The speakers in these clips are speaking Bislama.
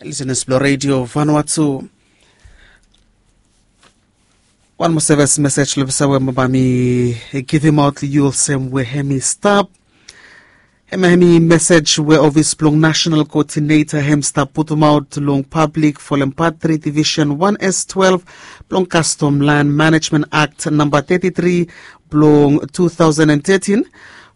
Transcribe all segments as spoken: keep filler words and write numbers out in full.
Lisenas blong redio Vanuatu. Wan moa sevis mesej long pesa we baba mi givimaot long yu olsem we hem i stap. Hem hem i mesej we ofis blong nasional koodineta hem stap putumaot long pablik folem pat tri divisen wan s twelve blong kastom lan manejmen akt namba teti tri blong tu taosen an tetin,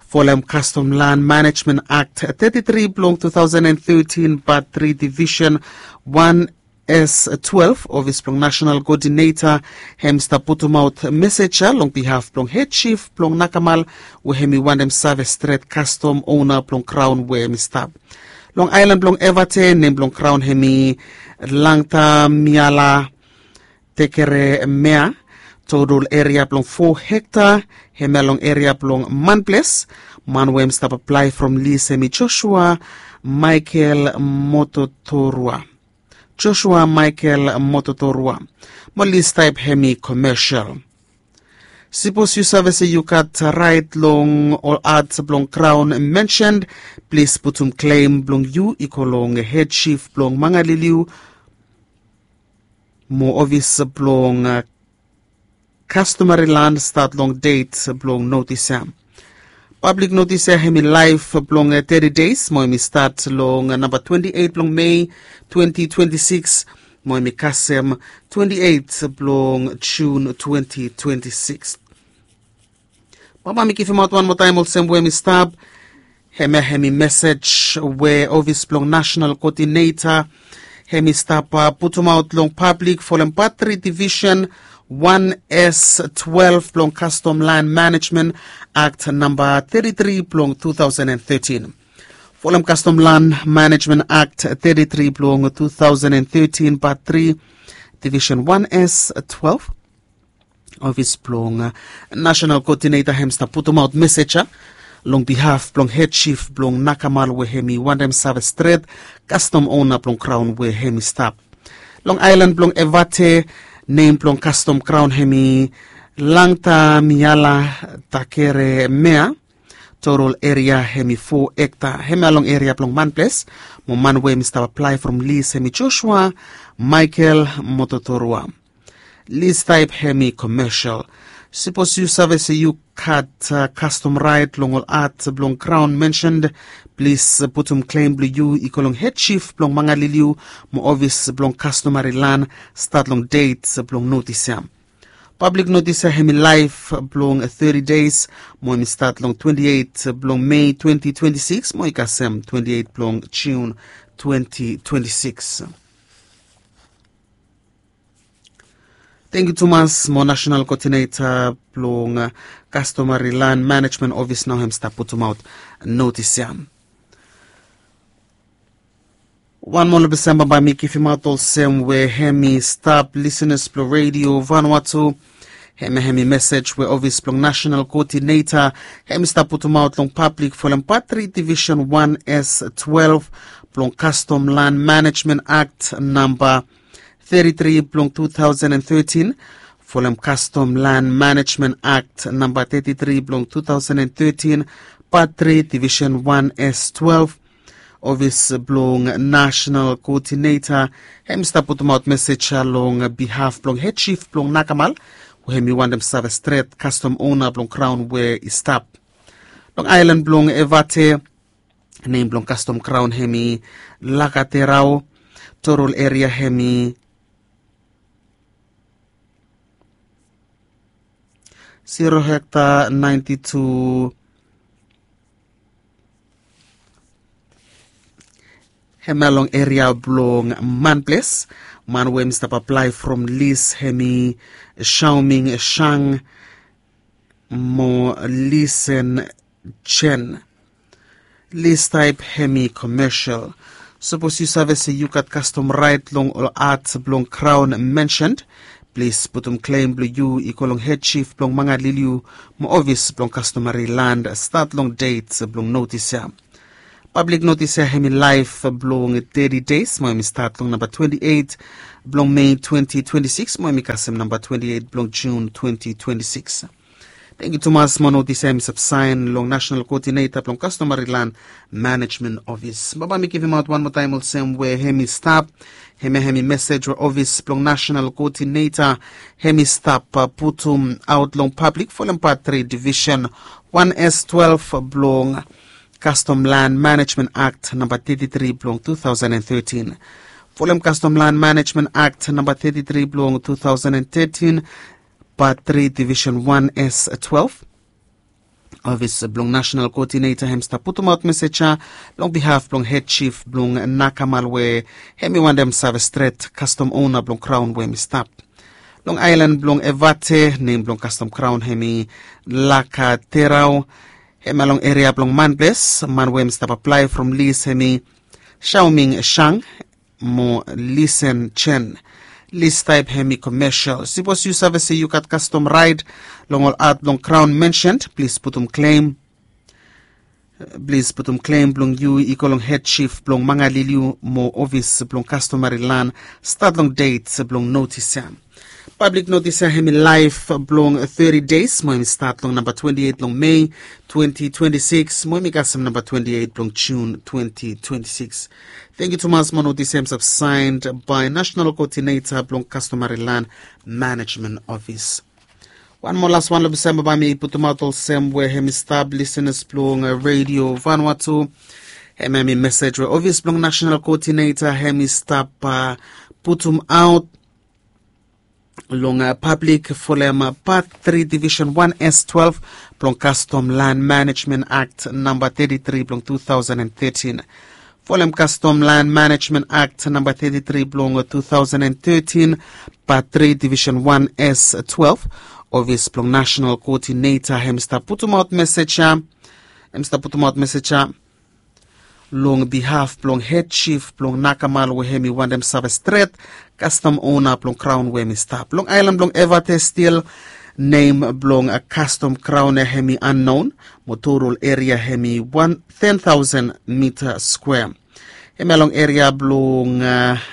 folem kastom lan manejmen akt teti tri blong tu taosen an tetin, pat tri divisen wan s twelve, ofis blong nasional koodineta hem stap putumaot mesej ya long bihaf blong hed jif blong nakamal we hem i wantem save stret kastom ona blong kraon we hem i stap. Long aelan blong Evate, nem blong kraon hem i Langtamiala Tekeremea. Total eria blong fo hekta, hemia long eria blong Manples. Man we hem stap aplae from lis hem i Joshua Michael Mototorua. Joshua Michael Mototorua. Mo lis taep hem i komesial. Sipos yu save se yu gat raet long ol at blong kraon mensen, plis putum klem blong yu i go long hed jif blong Mangaliliu mo ofis blong kastomari lan stat long det blong notis ya. Pablik notis ya hem i laef blong teti des mo hem i stat long namba twenti eit blong Mei twenti twenti sikis mo hem i kasem twenti eit blong Jun twenti twenti sikis. Baba mi givimaot wan moa taem olsem we hem i stap. Hemia hem i mesej we ofis blong nasional koodineta hem i stap putumaot long pablik folem pat tri divisen wan s twelve blong kastom lan manejmen akt namba teti tri blong tu taosen an tetin. Folem kastom lan manejmen akt teti tri blong tu taosen an tetin, pat tri, divisen wan s twelve, ofis blong nasional koodineta hem stap putumaot mesej ya long bihaf blong hed jif blong nakamal we hem i wantem save stret kastom ona blong kraon we hem i stap. Long aelan blong Evate, nem blong kastom kraon hem i Langtamiala Takeremea. Total eria hem i fo hekta, hemia long eria blong Manples. Mo man we hem i stap aplae from lis hem i Joshua Michael Mototorua. Lis taep hem i komesial. Sipos yu save se yu gat kastom raet long ol at blong kraon mensen, plis putum klem blong yu i go long hed jif blong Mangaliliu mo ofis blong kastomari lan stat long det blong notis ya. Pablik notis ya hem i laef blong teti des mo hem i stat long twenti eit blong Mei twenti twenti sikis mo i kasem twenti eit blong Jun twenti twenti sikis. Tangkiu tumas mo nasional koodineta blong kastomari lan manejmen ofis nao hem stap putumaot notis ya. Wan moa long pesa baba mi givimaot olsem we hem i stap, lisenas blong redio Vanuatu. Hemia hem i mesej we ofis blong nasional koodineta hem i stap putumaot long pablik folem pat tri divisen wan s twelve blong kastom lan manejmen akt namba teti tri blong tu taosen an tetin, folem kastom lan manejmen akt namba teti tri blong tu taosen an tetin, pat tri divisen wan s twelve. Ofis blong nasional koodineta hem i stap putumaot mesej ya long bihaf blong hed jif blong nakamal we hem i wantem save stret kastom ona blong kraon we i stap. Long aelan blong Evate, nem blong kastom kraon hem i Lakaterao. Total eria hem i zero hekta naenti tu. Hemia long eria blong Manples. Man we hem i stap aplae from lis hem i Shaoming Shang mo Lisen Chen. Lis taep hem i komesial. Sipos yu save se yu gat kastom raet long ol at blong kraon mensen, plis putum klem blong yu i go long hed jif blong Mangaliliu mo ofis blong kastomari lan stat long det blong notis ya. Pablik notis ya hem i laef blong teti des mo hem i stat long namba twenti eit blong Mei twenti twenti sikis mo hem i kasem namba twenti eit blong Jun twenti twenti sikis. Tengiu tumas. Mo notis ya hem i stap saen long national koodineta blong kastomari lan manejmen ofis. Baba mi givimaot wan moa taem olsem we hem i stap, hem ya hem i mesej we ofis blong national koodineta hem i stap putum aot long pablik folem pat tri divisen wan s twelve blong kastom lan manejmen akt namba teti tri blong tu taosen an tetin. Folem kastom lan manejmen akt namba teti tri blong tu taosen an tetin, pat tri divisen wan s twelve, ofis blong nasenal koodineta hem i stap putumaot mesej ya long bihaf blong hed jif blong nakamal we hem i wantem save stret kastom ona blong kraon we hem i stap long aelan blong evate. Nem blong kastom kraon hem i laka terao. Hem ya long eria blong manples man we hem i stap aplae from lis hem i shaoming shang mo lisen jen. Lis taep hem i komesel. Sipos yu save se yu gat kastom raet long ol at blong kraon mensen, plis putum klem plis putum klem blong yu i go long hed jif blong mangaliliu mo ofis blong kastomari lan stat long det blong notis ya. Pablik notis ya hem i laef blong teti des mo hem i stat long namba twenti eit long mei twenti twenti sikis mo hem i kasem namba twenti eit blong jun twenti twenti sikis. Tengiu tumas mo notis ya hem i stap saen bae nasenal koodineta blong kastomari lan manejmen ofis. Wan moa las wan long bisamba bae mi putumaot olsem we hem i stap lisenas blong redio vanua tu. Hem ya hem i mesej we ofis blong nasenal koodineta hem i stap putumaot long pablik folem pat tri divisen wan s twelve blong kastom lan manejmen akt namba teti tri blong tu taosen an tetin. Folem kastom lan manejmen akt namba teti tri blong tu taosen an tetin, pat tri divisen wan s twelve, ofis blong nasenal koodineta hem i stap putumaot mesej ya hem i stap putumaot mesej ya long bihaf blong hed jif blong nakamal we hem i wantem save stret kastom ona blong kraon we hem i stap long aelan blong evate stil. Nem blong kastom kraon ya hem i annon mo totol eria hem i wan ten taosen mita skwea. Hem ya long eria blong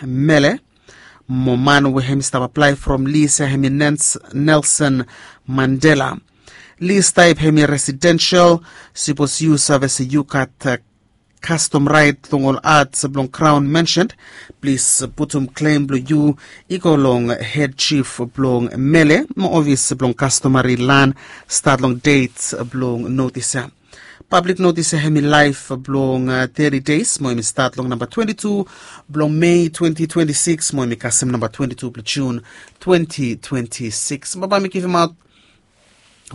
mele mo man we hem i stap aplae from lis ya hem i nens nelson mandela. Lis taep hem i residensel. Sipos yu save se yu gat kastom raet long ol ats blong kraon mensen, plis putum klem blong yu i go long hed jif blong mele mo ofis blong kastomari lan stat long det blong notis ya. Pablik notis ya hem i laef blong teti des mo hem i stat long namba twenti tu blong mei twenti twenti sikis mo hem i kasem namba twenti tu blong jun twenti twenti sikis. Baba mi givimaot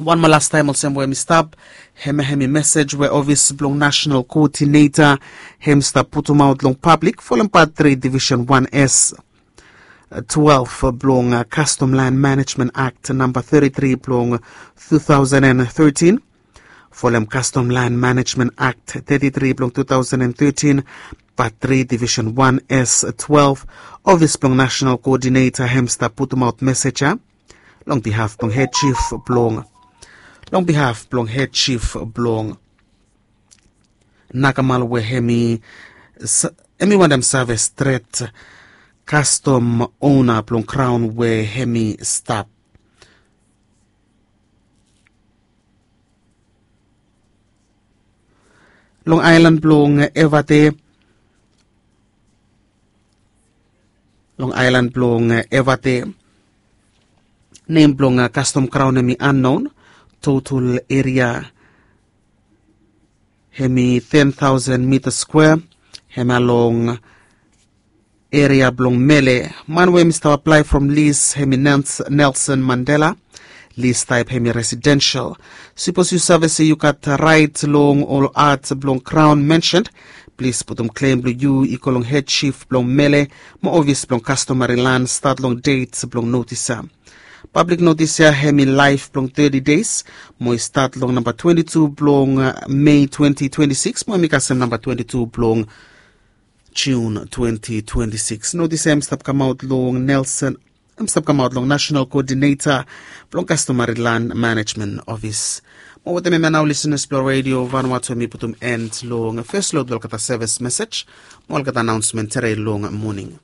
wan moa lastaem olsem we hem i stap. Hem ya hem i mesej we ofis blong nasenal koodineta hem i stap putumaot long pablik folem pat tri divisen wan s twelve blong kastom lan manejmen akt namba teti tri blong tu taosen an tetin. Folem kastom lan manejmen akt teti tri blong tu taosen an tetin, pat tri divisen wan s twelve, ofis blong nasenal koodineta hem i stap putumaot mesej ya long bihaf blong hed jif blong long bihaf blong hed jif blong nakamal we hem i wantem save stret kastom ona blong kraon we hem i stap long aelan blong evate long aelan blong evate. Nem blong kastom kraon hem i annon. Totol eria hem i ten taosen mita skwea. Hem ya long eria blong mele. Man we hem i stap aplae from lis hem i nelson mandela. Lis taep hem i residensel. Sipos yu save se yu gat raet long ol ats blong kraon mensen, plis putum klem blong yu i go long hed jif blong mele mo ofis blong kastomari lan stat long det blong notis ya. Pablik notis ya hem i laef blong teti des mo i stat long namba twenti tu blong mei twenti twenti sikis mo hem i kasem namba twenti tu blong jun twenti twenti sikis. Notis ya hem i stap kamaot long nelson hem i stap kamaot long nasenal koodineta blong kastomari lan manejmen ofis. Mo wetem hem ya nao lisenas blong redio vanua tu hem i putum en long fes lod olgeta sevis mesej mo olgeta anaonsmen tere long moning.